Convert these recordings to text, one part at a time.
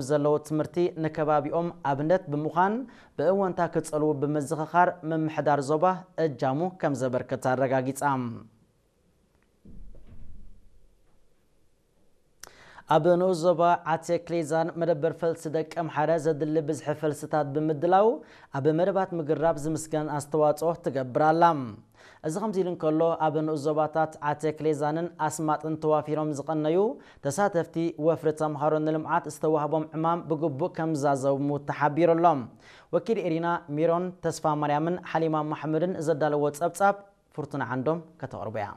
ዘለዎ ትምህርቲ ንከባቢኦም ኣብነት ብምዃን ብእወንታ ክጸልዉ ብምዝኽኻር ምምሕዳር ዞባ እጃሙ ከም ዘበርክት ኣረጋጊጻ። ኣብ ንኡስ ዞባ ዓቴ ክሌዛን መደበር ፈልሲ ደቀምሓረ ዘድሊ ብዝሒ ፈልስታት ብምድላው ኣብ መደባት ምግራብ ዝምስገን ኣስተዋጽኦ ትገብር ኣላ። እዚ ከምዚ ኢሉ እንከሎ ኣብ ንኡስ ዞባታት ዓቴ ክሌዛንን ኣስማጥን ተዋፊሮም ዝቐነዩ ተሳተፍቲ ወፍሪ ተምሃሮ ንልምዓት ዝተዋህቦም ዕማም ብግቡእ ከም ዝዛዘሙ ተሓቢሩ ኣሎ። ወኪል ኤሪና ሚሮን ተስፋ ማርያምን ሓሊማ ማሕሙድን ዘዳለዎ ጸብጻብ ፍርቱና ዓንዶም ከተቕርቦ እያ።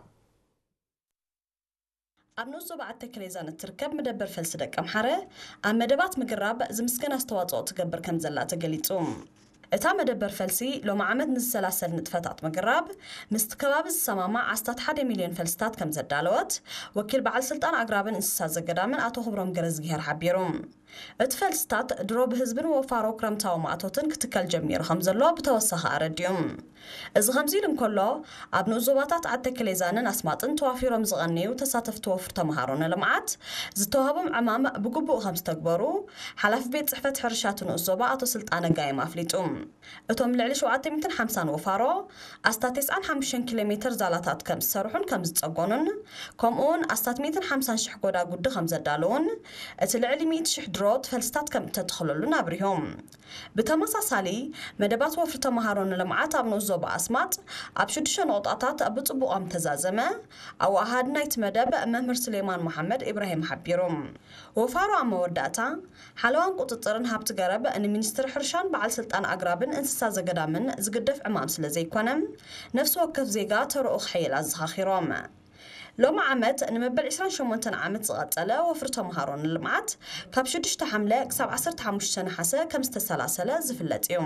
ኣብ ንኡስ ዞባ ዓቴ ክሌዛን እትርከብ መደበር ፈልሲ ደቀምሓረ ኣብ መደባት ምግራብ ዝምስገን ኣስተዋጽኦ ትገብር ከም ዘላ ተገሊጹ። እታ መደበር ፈልሲ ሎሚ ዓመት ንዝሰላሰል ንጥፈታት ምግራብ ምስቲ ከባቢ ዝሰማማዕ ኣስታት ሓደ ሚልዮን ፈልስታት ከም ዘዳለወት ወኪል በዓል ስልጣን ኣግራብን እንስሳ ዘገዳምን ኣቶ ክብሮም ገረዝግሄር ሓቢሩ። እቲ ፈልስታት ድሮ ብህዝብን ወፋሮ ክረምታዊ ማእቶትን ክትከል ጀሚሩ ከም ዘሎ ብተወሳኺ ኣረዲኡ። እዚ ከምዚ ኢሉ እንከሎ ኣብ ንኡስ ዞባታት ዓቴ ክሌዛንን ኣስማጥን ተዋፊሮም ዝቐነዩ ተሳተፍቲ ወፍሪ ተምሃሮ ንልምዓት ዝተዋህቦም ዕማም ብግቡእ ከም ዝተግበሩ ሓላፊ ቤት ጽሕፈት ሕርሻ እቲ ንኡስ ዞባ ኣቶ ስልጣነ ጋይም ኣፍሊጡ። እቶም ልዕሊ ሸውዓተ ሚእትን ሓምሳን ወፋሮ ኣስታት ተስዓን ሓሙሽተን ኪሎ ሜትር ዛላታት ከም ዝሰርሑን ከም ዝጸገኑን ከምኡውን ኣስታት ሚእትን ሓምሳን ሽሕ ጎዳጉዲ ከም ዘዳለውን እቲ ልዕሊ ሚእቲ ሽሕ ድሮ ፈልስታት ከም እተተኽለሉን ኣብሪሆም። ብተመሳሳሊ መደባት ወፍሪ ተምሃሮ ንልምዓት ኣብ ንኡስ ዞባ ኣስማጥ ኣብ ሽዱሽተ ነቑጣታት ብጽቡቕ ከም ተዛዘመ ኣወሃሃዲ ናይቲ መደብ መምህር ስሌማን መሓመድ ኢብራሂም ሓቢሩ። ወፋሮ ኣብ መወዳእታ ሓለዋን ቁጽጽርን ሃብቲ ገረብ ንሚኒስትሪ ሕርሻን በዓል ስልጣን ኣግራብን እንስሳ ዘገዳምን ዝግደፍ ዕማም ስለ ዘይኮነ ነፍሲ ወከፍ ዜጋ ተረኡ ክሕይል ኣዘኻኺሮም። ሎሚ ዓመት ንመበል ዕስራን ሸሞንተን ዓመት ዝቐጸለ ወፍሪ ተምሃሮ ንልምዓት ካብ ሽዱሽተ ሓምለ ክሳብ ዓሰርተ ሓሙሽተ ነሓሰ ከም ዝተሰላሰለ ዝፍለጥ እዩ።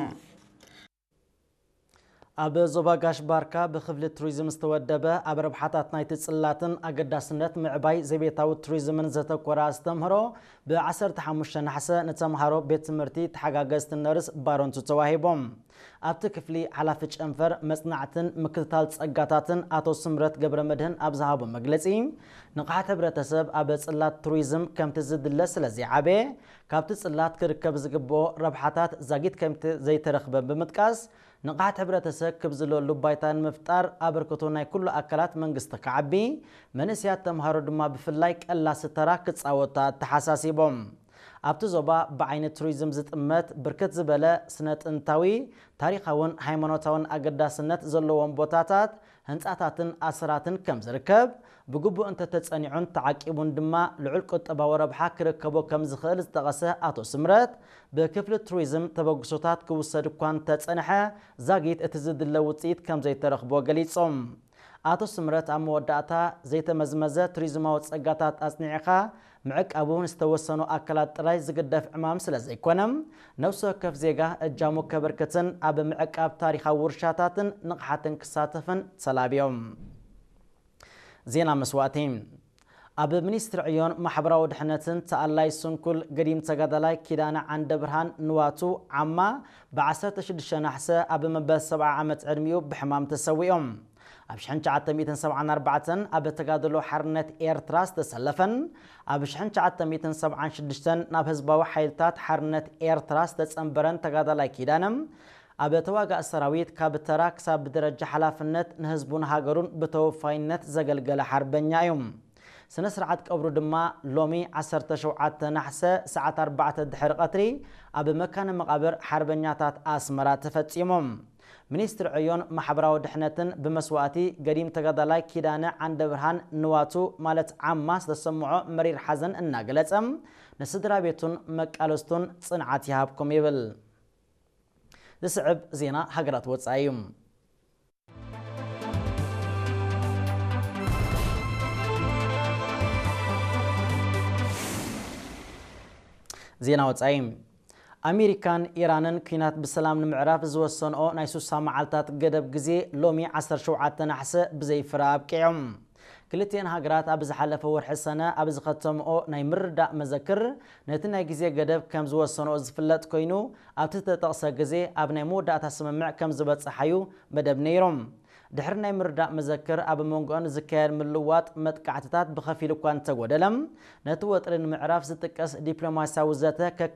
ኣብ ዞባ ጋሽ ባርካ ብክፍሊ ቱሪዝም ዝተወደበ ኣብ ረብሓታት ናይቲ ጽላትን ኣገዳስነት ምዕባይ ዘቤታዊ ቱሪዝምን ዘተኮረ ኣስተምህሮ ብ ዓሰርተ ሓሙሽተ ነሓሰ ንተምሃሮ ቤት ትምህርቲ ተሓጋገዝቲ ነርስ ባረንቱ ተዋሂቦም። ኣብቲ ክፍሊ ሓላፊ ጨንፈር መጽናዕትን ምክትታል ጸጋታትን ኣቶ ስምረት ገብረ መድህን ኣብ ዝሃቦ መግለጺ፣ ንቕሓት ሕብረተሰብ ኣብ ጽላት ቱሪዝም ከምቲ ዝድለ ስለ ዘይዓበየ፣ ካብቲ ጽላት ክርከብ ዝግብኦ ረብሓታት ዛጊት ከምቲ ዘይተረኽበ ብምጥቃስ፣ ንቕሓት ሕብረተሰብ ክብ ዝለሉ ባይታ ንምፍጣር ኣበርክቶ ናይ ኩሉ ኣካላት መንግስቲ ክዓቢ፣ መንእሰያት ተምሃሮ ድማ ብፍላይ ቀላሲ ተራ ክጻወቱ ኣተሓሳሲቦም። ኣብቲ ዞባ ብዓይኒ ቱሪዝም ዝጥመት ብርክት ዝበለ ስነ ጥንታዊ፣ ታሪኻውን ሃይማኖታውን ኣገዳስነት ዘለዎም ቦታታት፣ ህንጻታትን ኣሰራትን ከም ዝርከብ፣ ብግቡእ እንተተጸኒዑን ተዓቂቡን ድማ ልዑል ቁጠባዊ ረብሓ ክርከቦ ከም ዝኽእል ዝጠቐሰ ኣቶ ስምረት፣ ብክፍሊ ቱሪዝም ተበግሶታት ክውሰድ እኳ እንተጸንሐ፣ ዛጊት እቲ ዝድለ ውጽኢት ከም ዘይተረኽቦ ገሊጾም። ኣቶ ስምረት ኣብ መወዳእታ፣ ዘይተመዝመዘ ቱሪዝማዊ ጸጋታት ኣጽኒዕኻ ምዕቃቡ ንዝተወሰኑ ኣካላት ጥራይ ዝግደፍ ዕማም ስለ ዘይኮነ፣ ነፍሲ ወከፍ ዜጋ እጃሙ ከበርክትን ኣብ ምዕቃብ ታሪኻዊ ውርሻታትን ንቕሓትን ክሳተፍን ተላብዮም። ዜና መስዋእቲ። ኣብ ሚኒስትሪ ዕዮን ማሕበራዊ ድሕነትን ተኣላይ ስንኩል ገዲም ተጋዳላይ ኪዳነ ዓንደ ብርሃን ንዋቱ ዓማ ብ ዓሰርተ ሽዱሽተ ናሕሰ ኣብ መበል ሰብዓ ዓመት ዕድሚኡ ብሕማም ተሰዊኦም። ኣብ ሽሕን ትሽዓተ ሚእትን ሰብዓን ኣርባዕተን ኣብ ተጋድሎ ሓርነት ኤርትራ ዝተሰለፈን ኣብ ሽሕን ትሽዓተ ሚእትን ሰብዓን ሽዱሽተን ናብ ህዝባዊ ሓይልታት ሓርነት ኤርትራ ዝተጸንበረን ተጋዳላይ ኪዳነ፣ ኣብ ተዋጋእ ሰራዊት ካብ ተራ ክሳብ ብደረጃ ሓላፍነት ንህዝቡን ሃገሩን ብተወፋይነት ዘገልገለ ሓርበኛ እዩ። ስነ ስርዓት ቀብሩ ድማ ሎሚ ዓሰርተ ሸውዓተ ናሕሰ ሰዓት ኣርባዕተ ድሕሪ ቀትሪ ኣብ መካነ መቓብር ሓርበኛታት ኣስመራ ተፈጺሙ። ሚኒስትሪ ዕዮን ማሕበራዊ ድሕነትን ብመስዋእቲ ገዲም ተጋዳላይ ኪዳነ ዓንደ ብርሃን ንዋቱ ማለት ዓማ ዝተሰምዖ መሪር ሓዘን እናገለጸ፣ ንስድራ ቤቱን መቃለስቱን ጽንዓት ይሃብኩም ይብል። ዝስዕብ ዜና ሃገራት ወጻኢ እዩ። ዜና ወጻኢ። ኣሜሪካን ኢራንን ኲናት ብሰላም ንምዕራፍ ዝወሰንኦ ናይ ሱሳ መዓልታት ገደብ ግዜ ሎሚ ዓሰርተ ሸውዓተ ናሕሰ ብዘይ ፍረ ኣብቂዑ። ክልቲኤን ሃገራት ኣብ ዝሓለፈ ወርሒ ሰነ ኣብ ዝኸተምኦ ናይ ምርዳእ መዘክር፣ ነቲ ናይ ግዜ ገደብ ከም ዝወሰንኦ ዝፍለጥ ኮይኑ፣ ኣብቲ ዝተጠቕሰ ግዜ ኣብ ናይ መወዳእታ ስምምዕ ከም ዝበጽሓዩ መደብ ነይሮም። ድሕሪ ናይ ምርዳእ መዘክር ኣብ መንጎኦን ዝካየድ ምልዋጥ መጥቃዕትታት ብኸፊል እኳ እንተጎደለ፣ ነቲ ወጥሪ ንምዕራፍ ዝጥቀስ ዲፕሎማሲያዊ ዘተ